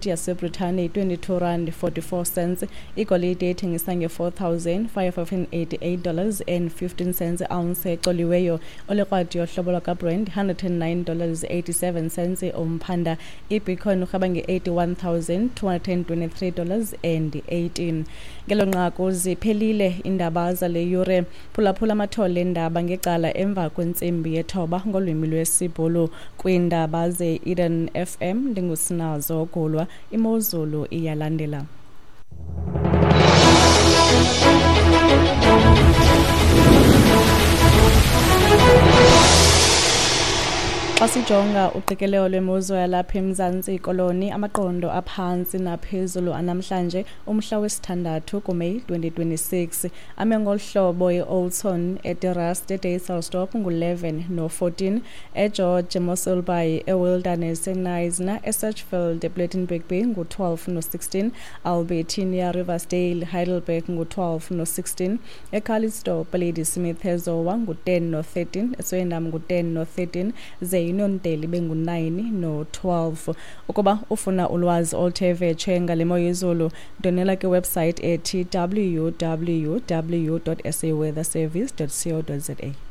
YaseBritane yi-22 rand 44 cents. Igolide ithengisa nge-$4,588 and 15 cents ounce ecoliweyo. Olekrwada yohlobo lwakaBrent, $109 87 cents umphanda. Ibitcoin urheba nge-$81,223 and 18. Ngelo nqaku ziphelile iindaba zale yure. Phulaphula amathole eendaba ngecala emva kwentsimbi yethoba ngolwimi lwesiBhulu. Kwiindaba ze-Eden FM, ndinguSinazo Gulwa. Imozulu iyalandela. Xa sijonga uqikelelo lwemozulu yalapha eMzantsi Koloni, amaqondo aphantsi naphezulu anamhlanje, umhla wesithandathu kuMeyi 2026, ame ngolu hlobo: eOldton, eDe-Rust, eDysselsdorp ngu-11 no-14, eGeorge, eMossel Bay, eWilderness, eKnysna, eSedgefield, ePlettenberg Bay ngu-12 no-16, Albertinia, Riversdale, Heidelberg ngu-12 no-16, eCalitzdorp, Ladysmith, eZowa ngu-10 no-13, eSwellendam ngu-10 no-13, ze iUniondale ibe ngu-9 no-12. Ukuba ufuna ulwazi oluthe vetshe ngale mo yezulu, ndwendwela kwiwebsite ethi www.saweatherservice.co.za.